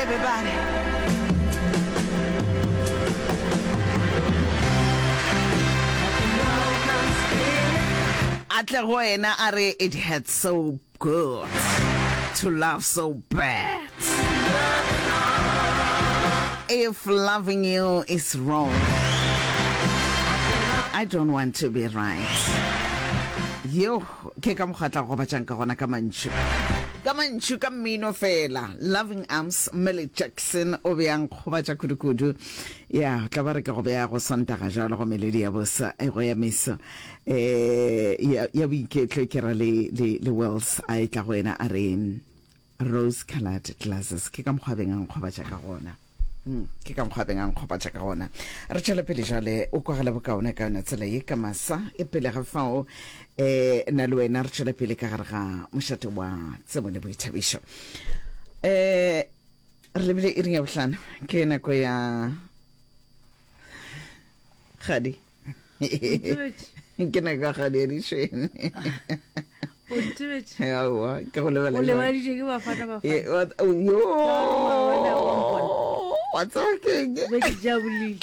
Everybody. A tle go wena a re it hurts so good to love so bad. If loving you is wrong, I don't want to be right. Yo, ke ka mokgwa tla go gobatšang ka gona ka mantšu. Ka mantšu, ka mmino fela. Loving Arms, Millie Jackson o be a nkgobatša kudu-kudu. Ya, tla ba re ke go beya go Sontaga jalo go melodi ya bosa e go ya meso. Eh, ya, ya boiketlo ke ra le, le, le Wells a e tla go yena a re Rose colored glasses ke ka mokgwa beng a nkgobatša ka gona. Mm, ke ka mokgwa beng a nkgobatša ka gona. Re tšwele pele jale o kwagala bokaone ka yona tsela ye ka masa e pele ga fao eh na le wena re tšwele pele ka gare ga mošate wa tsebo le boithabišo. Eh re lebile iring ya bohlano ke nako ya gadi ke nako ya gadi ya dišwene O ntebetše. Aowa, ke go lebala O jwang? lebaditše ke Bafana Bafana. Eh, wa- oh, yo Wa bona, wa mpona. wa tseba ke eng? Be ke jabulile.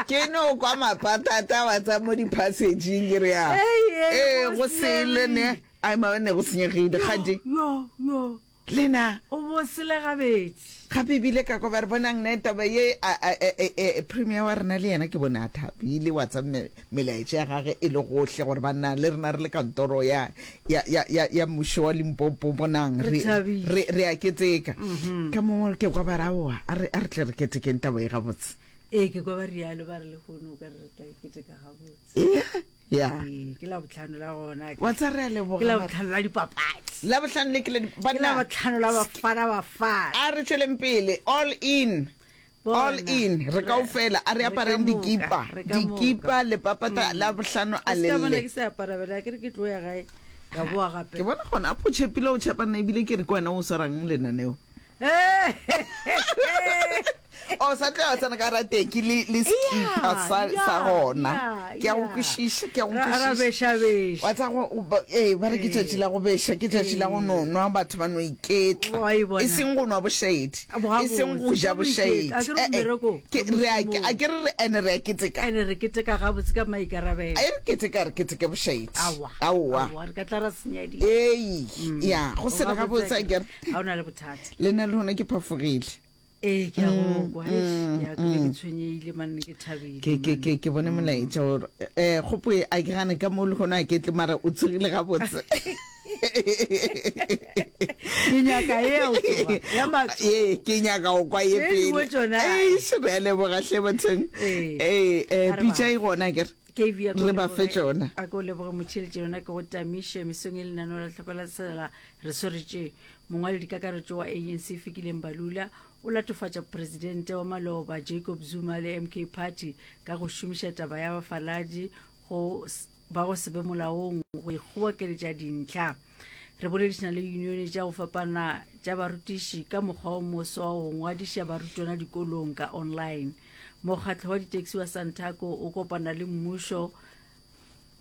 ke no kwa mapatata wa tsa mo di-passageng ke re ya Ei, ei, ee go go sele ne ai maone go senyegile gadi Yo, yo. Lena. O bo sele gabedi. Gape ebile ka kwa ba re bonang ne taba ye a, a, e, e, e, premier wa rena le yena ke bone a thabile wa tsa me, melaetša ya gage e le gohle gore banna le rena re le kantoro ya, ya, ya, ya, ya mmušo wa Limpopo bonang Re re, thabile. re, re a keteka. Ka mo ke kwa ba re aowa a re, a re tle re ketekeng taba ye gabotse. Ee, ke kwa ba rialo ba re lehono o ka re re tla e keteka gabotse. Ea. Ya. Ee, ke labohlano la gona. Wa tsa re a leboga. Ke labohlano la dipapadi. Labohlano le ke la Ke labohlano la Bafana Bafana. A re tšweleng pele all in. All in re kaofela a re apareng dikipa. Dikipa le papata labohlano a le lle. Ke se apara bela ke re ke tlo ya gae ka boa gape. Ke bona gona a tšhepile o tšhepa nna ebile ke re ke wena o swarang lenaneo. O sa tla tsena ka rateki le le skipa sa sa gona. Ke a go kwešiša, ke a go kwešiša. Ra beša beša. Wa tsa go ee ba re ke tšatši la go beša, ke tšatši la go no nwa batho ba no iketla. E seng go nwa bošaedi, e seng go ja bošaedi. Ke re a a ke re re ene re a keteka. Ene re keteka gabotse ka maikarabelo. A re keteka re keteke bošaedi. Aowa. Aowa. Aowa re ka tla ra senya dilo. Ee, ya go sele gabotse akere. Ga o na le bothata. Le nna le gona ke phafogile. Ee, ke a go kwa. Eish, ya, ke be ke tshwenyehile man, ke thabile. Ke, ke, ke, ke bone molaetša gore eh kgopo e a ke gane ka mo le gona a ke tle mara o tsogile gabotse. Ke nyaka ye ya go tsoga, ya matsogo. Ee, ke nyaka go kwa ye Tše dingwe pele. tšona. Eish, re a leboga hle bathong. Ee. Ee, eh, A re pitša ba- e gona akere. KV, a ko Re ba fe leboge- tšona. A ko leboge motšheletše yona ke go tamiše mesong e lenaneo la tlhoko la tsela re swaretše mongwaledikakaretšo wa ANC Fikile Mbalula o latofatša presidente wa maloba Jacob Zuma le MK Party ka go šomiša taba ya bafaladi go ba go se be molaong go ikgobokeletša dintlha. Re boledišana le unione tša go fapana tša barutiši ka mokgwa o moswa wa go ngwadiša barutwana dikolong ka online. Mokgatlo wa ditaxi wa Santaco o kopana le mmušo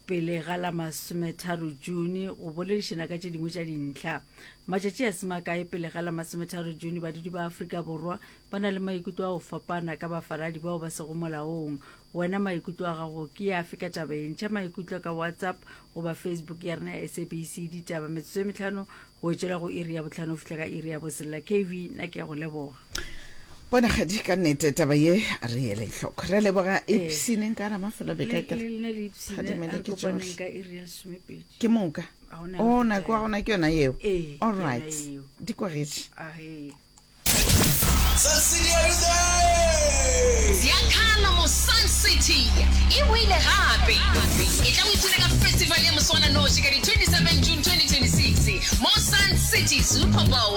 pele ga la masometharo June go boledišana ka tše dingwe tša dintlha. Matšatši a se makae pele ga la masometharo June, badudi ba Afrika Borwa ba na le maikutlo a go fapana ka bafaladi bao ba sego molaong. Wena maikutlo a gago ke afe ka taba ye? Ntšha maikutlo ka WhatsApp goba Facebook ya rena ya SABC Ditaba. Metsotso e mehlano go etšwela go iri ya bohlano go fihla ka iri ya boselela. KV, nna ke a go leboga. Bona kgadi ka nnete taba ye re ele hloko. Re a leboga ipshineng ka ramafelo beka Le ke le lena le ipshine, a Phadimele re ke kopaneng tšohle. ka iri ya lesomepedi. Ke moka. Ga go na O le nako wa gona ke yona yeo. Ee, All ke yona right. yeo. Di kwagetše. Ahee. Sun City are you there? Ziakhala mo Sun City e boile gape. Etla o ipshine ka festival ya moswananoši ka di 27 June 2026 mo Sun City Super Bowl.